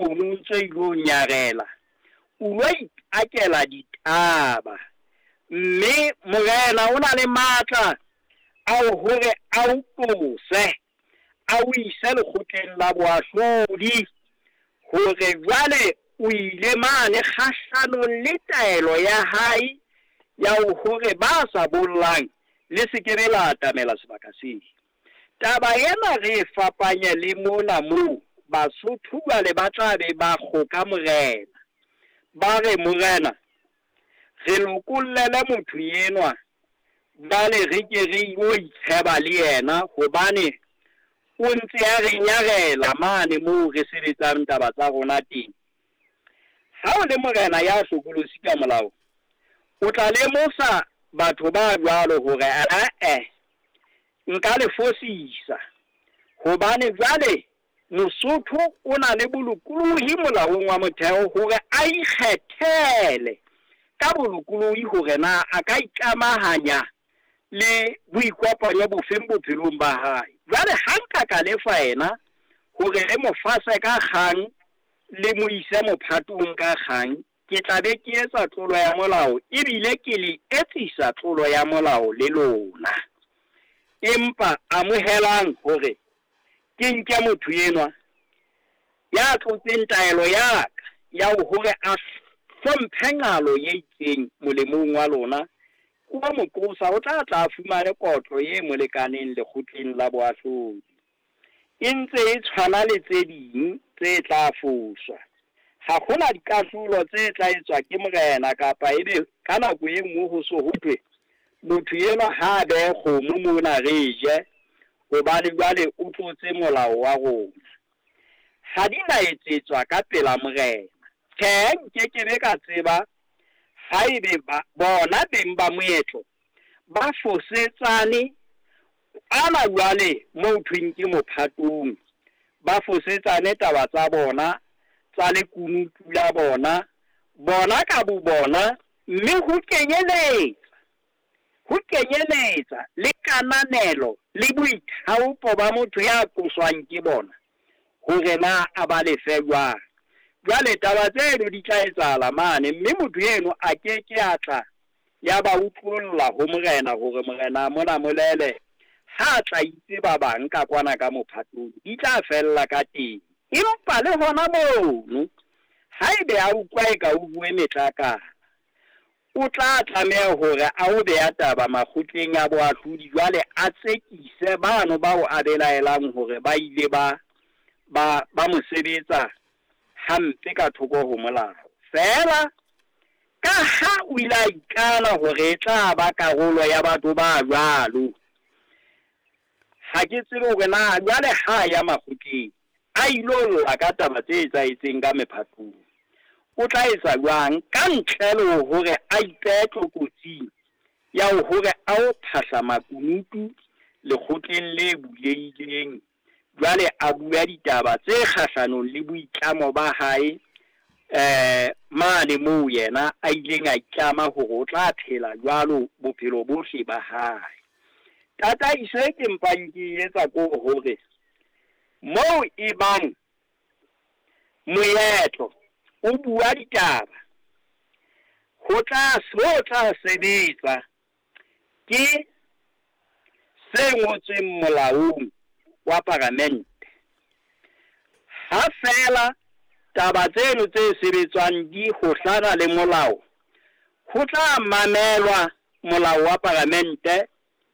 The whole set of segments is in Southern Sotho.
Mono o ntso ilo nyarela, o lo ipakela ditaba. Mme morena o na le matla a hore a o tlose, a o ise lekgotleng la boahlodi hore jwale o ile mane kgahlanong le taelo ya hae ya hore ba sa bollang le se ke be la atamela sebaka seo. Taba ena re e fapanye le mona moo Basotho jwale ba tla be ba kgoka morena. Ba re, morena, re lokollele motho enwa, jwale re ke re yo itsheba le yena hobane o ntse a re nyarela mane moo re sebetsang taba tsa rona teng. Ha o le morena ya hlokolosi ka molao, o tla lemosa batho ba jwalo hore ae, nka le fosisa hobane jwale Mosotho o na le bolokolohi molaong wa motheo hore a ikgethele ka bolokolohi hore na a ka ikamahanya le boikopanyo bofeng bophelong ba hae. Jwale ha nka ka lefa yena hore re mo fase ka kgang le mo ise mophatong ka kgang, ke tla be ke etsa tlolo ya molao ebile ke le etsisa tlolo ya molao le lona. Empa amohelang hore ke nke motho enwa ya tlotseng taelo ya ka ya hore a hlomphe nqalo e itseng molemong wa lona, o mo qosa o tla tla fumane kotlo e mo lekaneng lekgotleng la boahlodi. E ntse e tshwana le tse ding tse tla foswa. Ha hona dikahlolo tse tla etswa ke morena kapa ebe ka nako e nngwe ho so ho thwe motho enwa ha a behe kgomo mona re je hobane jwale o tlotse molao wa rona. Ha di na etsetswa ka pela morena. Tjhe, nkekebe ka tseba haebe bona beng ba moetlo ba fosetsane ana jwale moo thweng ke mophatong, ba fosetsane taba tsa bona tsa lekunutu la bona, bona ka bo bona, mme ho kenyeletsa le kananelo le boithaopo ba motho ya qoswang ke bona hore na a ba lefe jwang. Jwale taba tseno di tla etsahala mane, mme motho eno a ke ke a tla ya ba utlolla ho morena hore morena a mo namolele ha a tla itse ba bang ka kwana ka mophatong, di tla fella ka teng. Empa le hona mono haebe a utlwa e ka o bue metlakana, o tla tlameha hore a o beha taba makgotleng a boahlodi, jwale a tsekise bano bao a belaelang hore ba ile ba mo sebetsa hampe ka thoko ho molao. Feela ka ha o ile a ikana hore e tla ba karolo ya batho ba jwalo, ha ke tsebe hore na jwale ha ya makgotleng a ilo lla ka taba tse etsahetseng ka mephatong, o tla etsa jwang ka ntle le hore a ipehe tlokotsing ya hore a o phahla makunutu lekgotleng le bulehileng, jwale a bua ditaba tse kgahlanong le boitlamo ba hae mane moo yena a ileng a itlama hore o tla phela jwalo bophelo bohle ba hae. Tataiso e ke mpang ke etsa ko hore moo e bang moetlo o bua ditaba, ho tla sebetsa ke se ngotsweng molaong wa paramente. Ha feela taba tseno tse sebetswang di hohlana le molao, ho tla mamelwa molao wa paramente,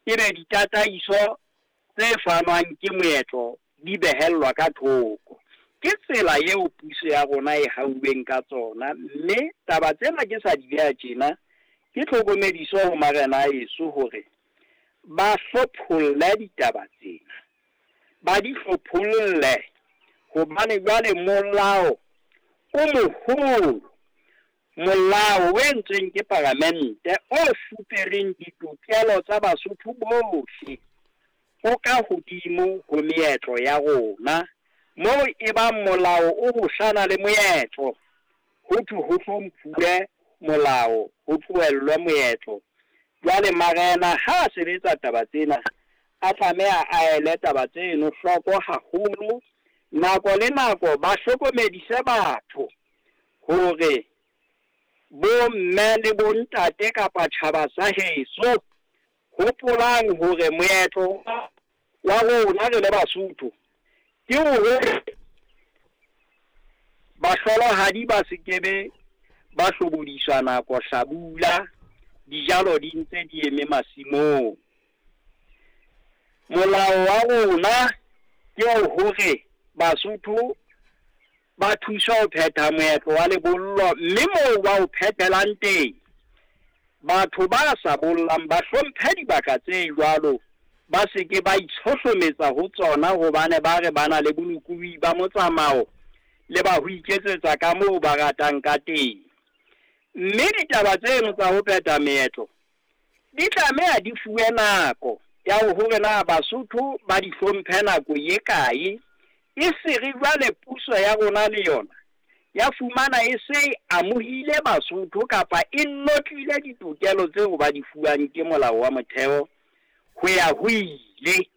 ebe ditataiso tse fanwang ke moetlo di behellwa ka thoko. Ke tsela eo puso ya rona e hauweng ka tsona, mme taba tsena ke sa di beha tjena ke tlhokomediso ho marena a heso hore ba hlopholle ditaba tsena, ba di hlopholle, hobane jwale molao o moholo, molao o entsweng ke paramente o fupereng ditokelo tsa Basotho bohle, o ka hodimo ho meetlo ya rona. Moo e bang molao o hohlana le moetlo, ho thwe ho hlomphuwe molao, ho tlohellwe moetlo. Jwale marena ha a sebetsa taba tsena, a tlameha a ele taba tseno hloko haholo, Nako le nako ba hlokomedise batho hore bo mme le bo ntate kapa tjhaba sa heso, hopolang hore moetlo wa rona re le Basotho ke hore bahlolohadi ba se ke be ba hlobodiswa nako hlabula, dijalo di ntse di eme masimong. Molao wa rona ke hore Basotho ba thuswa ho phetha moetlo wa lebollo, mme moo ba o phethelang teng, batho ba sa bollang ba hlomphe dibaka tse jwalo, ba se ke ba itshohlometsa ho tsona hobane ba re ba na le bolokolohi ba motsamao le ba ho iketsetsa ka moo ba ratang ka teng. Mme ditaba tseno tsa ho phetha meetlo di tlameha di fuwe nako ya hore na Basotho ba di hlomphe nako e kae, e se re jwale puso ya rona le yona ya fumana e se e amohile Basotho kapa e notlile ditokelo tseo ba di fuwang ke molao wa motheo ho ya ho ile.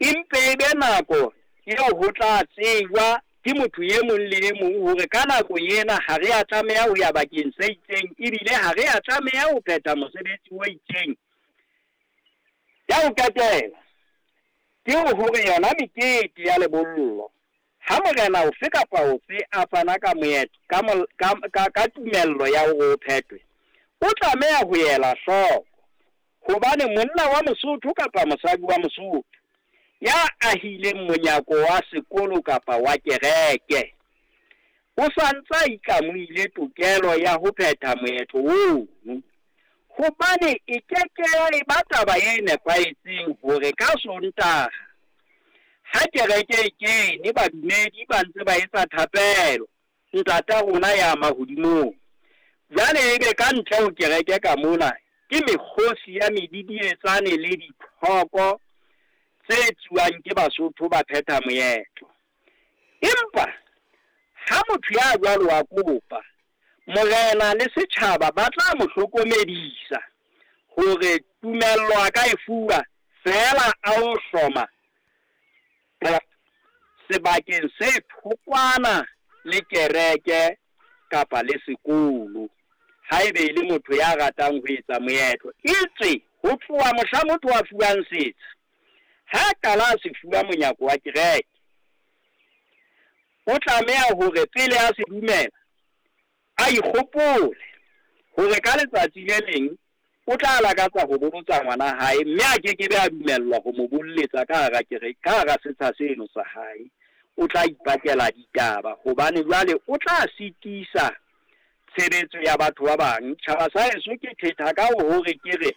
Empe e be nako eo ho tla tsejwa ke motho e mong le e mong hore ka nako ena ha re a tlameha ho ya bakeng se itseng, ebile ha re a tlameha ho phetha mosebetsi o itseng. Ya ho qetela ke hore yona mekete ya lebollo, ha morena ofe kapa ofe a fana ka moetlo ka tumello ya hore o phethwe, o tlameha ho ela hloko hobane monna wa Mosotho kapa mosadi wa Mosotho ya ahileng monyako wa sekolo kapa wa kereke o sa ntsa a itlamohile tokelo ya ho phetha moetlo ono, hobane e ke ke ya eba taba e nepahetseng hore ka Sontaha ha kereke e kene badumedi ba ntse ba etsa thapelo Ntata rona ya mahodimong, jwale ebe ka ntle ho kereke ka mona ke mekgosi ya medidietsane le dithoko tse tsuwang ke Basotho ba phetha moetlo. Empa ha motho ya jwalo a kopa, morena le setjhaba ba tla mo hlokomedisa hore tumello a ka e fuwa feela a o hloma sebakeng se thokwana le kereke kapa le sekolo, haebe e le motho ya ratang ho etsa moetlo. Etswe ho tloha mohla motho a fuwang setsha, ha qala a se fuwa monyako wa kereke, o tlameha hore pele a se dumela a ikgopole hore ka letsatsi le leng o tla lakatsa ho bolotsa ngwana hae, mme a ke ke be a dumellwa ho mo bolletsa ka hara kereke, ka hara setsha seno sa hae. O tla ipakela ditaba hobane jwale o tla sitisa tshebetso ya batho ba bang. Tjhaba sa heso ke thetha ka hore ke re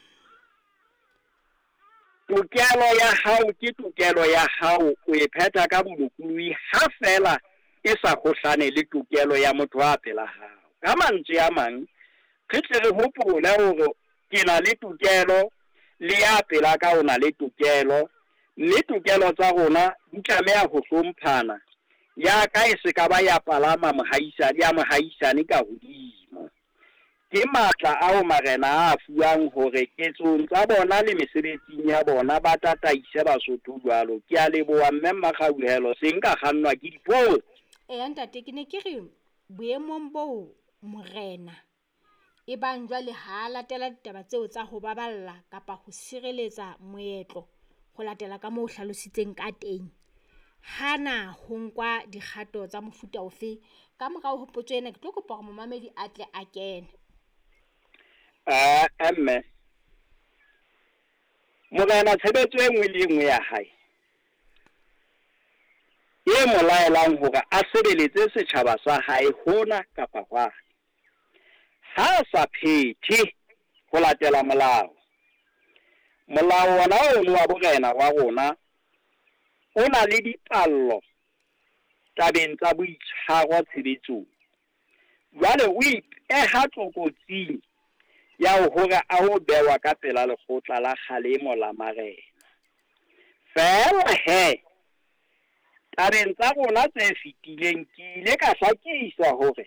tokelo ya hao ke tokelo ya hao, o e phetha ka bolokolohi ha feela e sa kgohlane le tokelo ya motho a pela hao. Ka mantswe a mang, re tle re hopole hore ke na le tokelo le ya pela ka o na le tokelo, mme tokelo tsa rona di tlameha ho hlomphana. Ya ka e se ka ba ya palama mohaisane ya mohaisane ka hodimo. Ke matla ao marena a fuwang hore ketsong tsa bona le mesebetsing ya bona ba tataise Basotho jwalo. Ke a leboha mme Mmakgauhelo, se nka kgannwa ke dipotso. Eya ntate, ke ne ke re boemong boo morena e bang jwale ha latela ditaba tseo tsa ho baballa kapa ho sireletsa moetlo ho latela ka moo o hlalositseng ka teng, hana ho nkwa dikgato tsa mofuta ofe? Ka morao ho potso ena, ke tlo kopa hore momamedi a tle a kene. Mme morena tshebetso e nngwe le e nngwe ya hae e mo laelang hore a sebeletse setjhaba sa hae hona kapa hwane, ha a sa phethe ho latela molao, molao wona ono wa borena wa rona o na le dipallo tabeng tsa boitshwaro tshebetsong. Jwale o ipeha tlokotsing ya hore a o bewa ka pela lekgotla la kgalemo la marena. Feela he, tabeng tsa rona tse fetileng ke ile ka hlakisa hore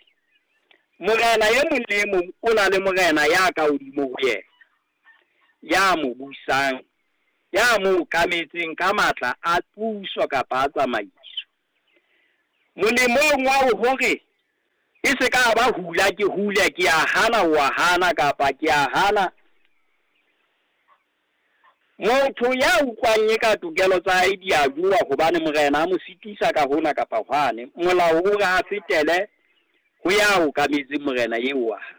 morena e mong le e mong o na le morena ya ka hodimo ho yena, ya mo busang, ya mo okametseng ka matla a puso kapa a tsamaiso. Molemong wa hore e se ka ba hula ke hule, ke a hana o a hana, kapa ke a hana. Motho ya utlwang eka tokelo tsa hae di a jowa hobane morena a mo sitisa ka hona kapa hwane, molao o re a fetele ho ya okametseng morena eo wa hae.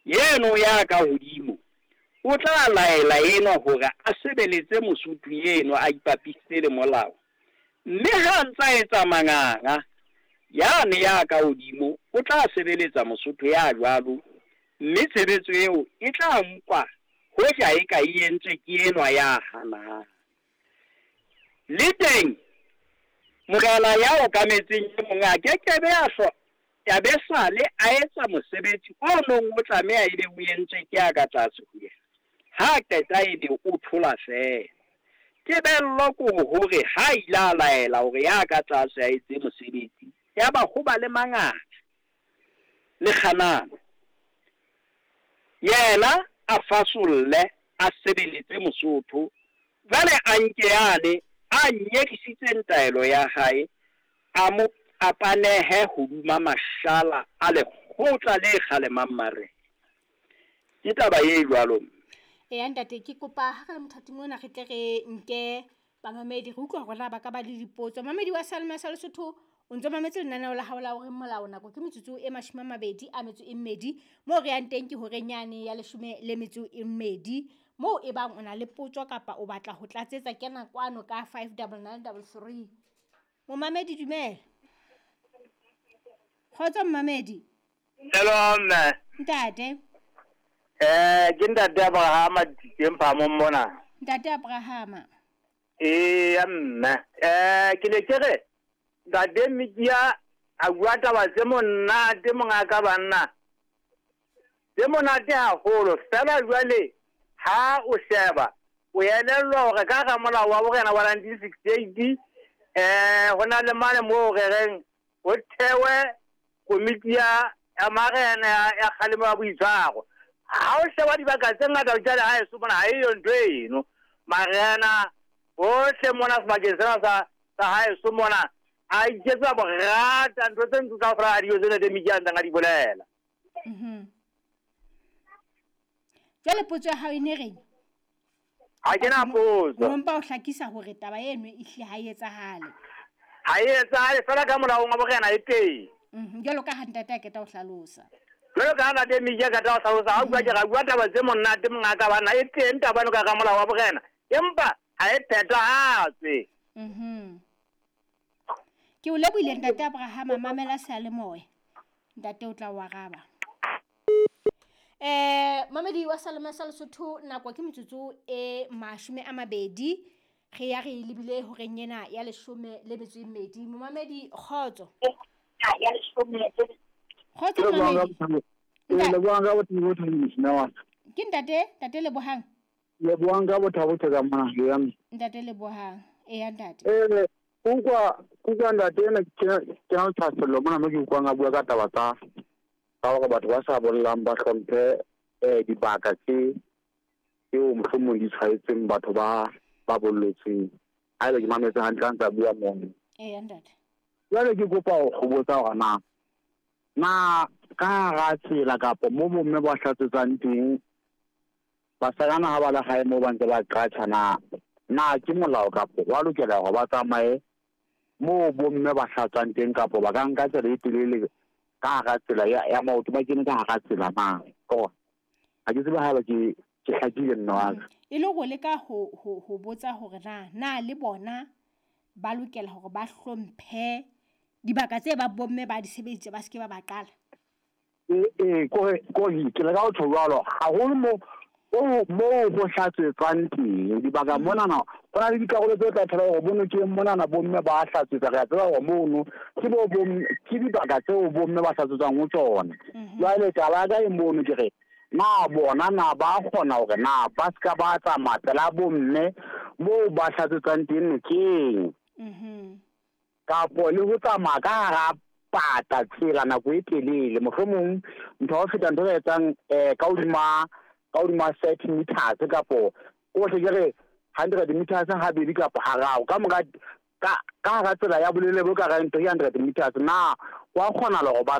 Yeno ya ka hodimo o tla laela enwa hore a sebeletse Mosotho eno a ipapisitse le molao, mme ha a ntsa etsa manganga, yane ya ka hodimo o tla sebeletsa Mosotho ya jwalo, mme tshebetso eo e tla nkwa hoja eka e entswe ke enwa ya hanang. Le teng morena ya okametseng e mong a ke ke be a ya be sale a etsa mosebetsi o nong o tlameha ebe o entswe ke a ka tlase ho yena. Ha qeta ebe o thola feela. Tebello ke hore ha ile a laela hore ya ka tlase a etse mosebetsi, yaba ho ba le manganga le kganano, yena a fasolle a sebeletse Mosotho, jwale a nke yane a nyedisitseng taelo ya hae, a mo a panehe hodima mashala a lekgotla le kgalemang marena. Ke taba e jwalo mme. Eya ntate, ke kopa ha re le mothating ona re tle re nke bamamedi, re utlwa hore na ba ka ba le dipotso. Mamedi wa Seyalemoya sa Lesotho, o ntso mametse lenaneo la hao la hore molao, nako ke metsotso e 28, moo re yang teng ke horeng yane ya 12, moo e bang o na le potso kapa o batla ho tlatsetsa, kena kwano ka 59933. Momamedi dumela. Kgotso momamedi. Hello mme. Ntate. Ke ntate Abrahama teng phamong mona. Ntate Abrahama. Eya mme. Ke ne ke re ntate Mikia a bua taba tse monate mongaka banna. Tse monate haholo fela jwale ha o sheba o elellwa hore ka hara molao wa borena wa 1968 ho na le mane moo re reng ho thewe komiti ya marena ya kgalemo ya boitshwaro. Ha o sheba dibaka tse ngata jwale ha eso mona ha eyo ntho eno. Marena bohle mona sebakeng sena sa haeso mona a iketsa borata ntho tse ntse kaofela ha diyo tsena tse Mikia a ntseng a di bolela. Jwale potso ya hao e ne reng? Ha ke na potso. O mpa o hlakisa hore taba eno e hlile ha e etsahale. Ha e etsahale fela ka molaong wa borena e teng. Jwalo ka ha ntate a qeta ho hlalosa. Jwalo ka ha ntate Mikia a qeta ho hlalosa, ha bua ke ra bua taba tse monate mongaka bana e teng taba eno ka molao wa borena, empa ha e phethahatswe. Ke o lebohile ntate Abrahama, mamela seyalemoya. Ntate o tla o araba. Mamedi wa Seyalemoya sa Lesotho, nako ke metsotso e 20, re ya re lebile horeng ena ya 12. Momamedi kgotso. Kgotso momamedi. Ke ntate, ntate Lebohang. Lebohang ka bothabo ka mona ya. Ntate Lebohang. Eya ntate. Utlwa ntate ena ke na le thahasello mona mo ke utlwang a bua ka taba tsa hore batho ba sa bollang ba hlomphe dibaka tse tseo mohlomong di tshwaetseng batho ba bollotseng. Haeba ke mametse hantle ha ntse a bua mono. Eya ntate. Jwale ke kopa ho botsa hore na ka hara tsela kapa mo bomme ba hlatsetsang teng, basajana ha ba le gae moo ba ntse ba qatjha, na ke molao kapa wa lokela hore ba tsamaye moo bomme ba hlatswang teng, kapa ba ka nka tsela e telele ka hara tsela ya maoto ba kene ka hara tsela na? Ha ke tsebe haeba ke hlakile nna wa ka. E le go leka ho botsa hore na le bona ba lokela hore ba hlomphe dibaka tse ba bomme ba di sebeditse, ba se ke ba ba qala. Kore ke leka ho tjho jwalo haholo mo ho hlatswetswang teng dibaka monana, ho na le dikarolo tse tla thola hore bonokeng monana bomme ba hlatswetsa, re a tseba hore mono ke dibaka tseo bomme ba hlatswetsang ho tsona. Jwale taba ya ka e mono ke re na bona na ba kgona hore na ba se ka ba tsamaya pela bomme moo ba hlatswetsang teng nokeng, kapo le ho tsamaya ka hara pata tsela nako e telele, mohlomong ntho ya ho feta ntho e etsang ka hodima 30 meters kapo o hle ke re 100 meters habedi kapa hararo, ka mora Ka ka hara tsela ya bolelele bo ka reng 300 meters, na wa kgonahala hore ba